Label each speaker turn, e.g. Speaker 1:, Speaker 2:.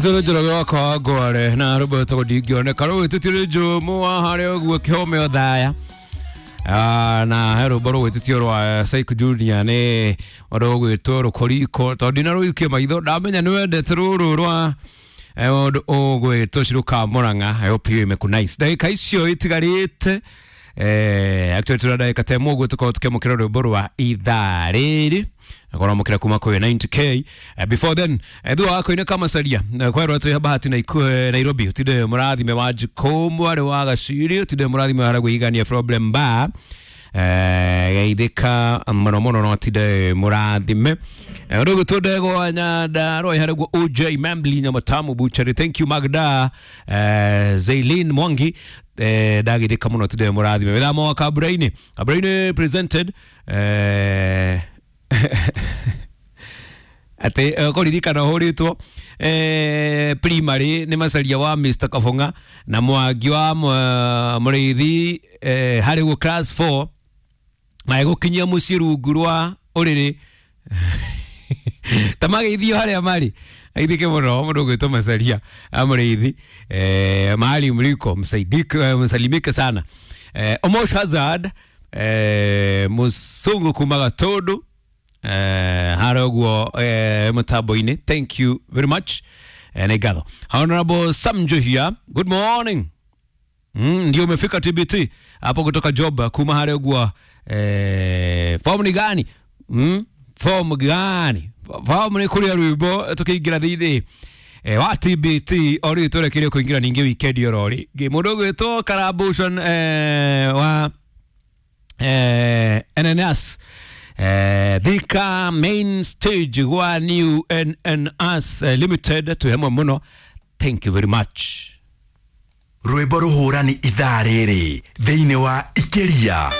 Speaker 1: Njoroge wakwa wa ngware na rwĩmbo rwĩtagwo ndingĩoneka rũgwĩtĩtio nĩ Njomo wa harĩa ũguo kĩhome Othaya. Na he rwĩmbo rũgwĩtĩtio rwa Syke Junior nĩ rũgwĩtwo rũkoriko tondũ ndinarũikia maitho ndamenya nĩ wendete rũrũ rwa ũndũ ũgwĩtwo Ciruka Murang'a. I hope you imekunice ndagĩka icio itigarĩte, actually tũra ndagĩka ta ĩmwe ũguo tũkorwo tũkĩamũkĩra rwĩmbo rwa ithaa rĩrĩ akoramũkĩra kuma kwĩ 90K. Before then, thutha wa kũina kamacaria kwerwo twĩ bahati na Nairobi utinde mũrathime wa Njikũ mwarĩ wa Gaciri utinde mũrathime wa gwĩigania problem bar, geithĩka mũno mũno no tinde mũrathime ũndũ ũgwĩtwo ndegwa Nyandarua harĩguo OJ Membli Nyamatamu Butchery. Thank you Magda, Zailin Mwangi, ndagithĩka mũno tinde mũrathime wĩthamo wa Kaburaini Kaburaini presented, atä kåririkana hå rä two primary nä macaria wa Mr Kabonga na Mwangi wa må rä ithi harä guo class 4 magä kinyia må ciä rungu rwa å rä rä ta mageithio harĩa marĩ aithike mũno mũndũ ũgwĩtwo macaria amũrĩithi, mahali mliko msaidike, msalimike sana. Omosh Hazard, mũcũngũ kuma Gatũndũ, harĩa ũguo mũtambo-inĩ, thank you very much, nĩ ngatho. Honorable Sam Njohia, good morning. Ndio umefika TBT hapo kutoka job kuma harĩa ũguo, form ni gani? Form gani? Form nĩ kũrĩa rwĩmbo tũkĩingĩra thĩinĩ wa TBT o rĩu twerekeire kũingĩra ningĩ weekend oro rĩ mũndũ ũgwĩtwo Karabushon wa NNS, Thika main stage gwa New NNS Limited twĩ hamwe mũno, thank you very much.
Speaker 2: Rwĩmbo rũhũrani ithaa rĩrĩ thĩinĩ wa ikiria.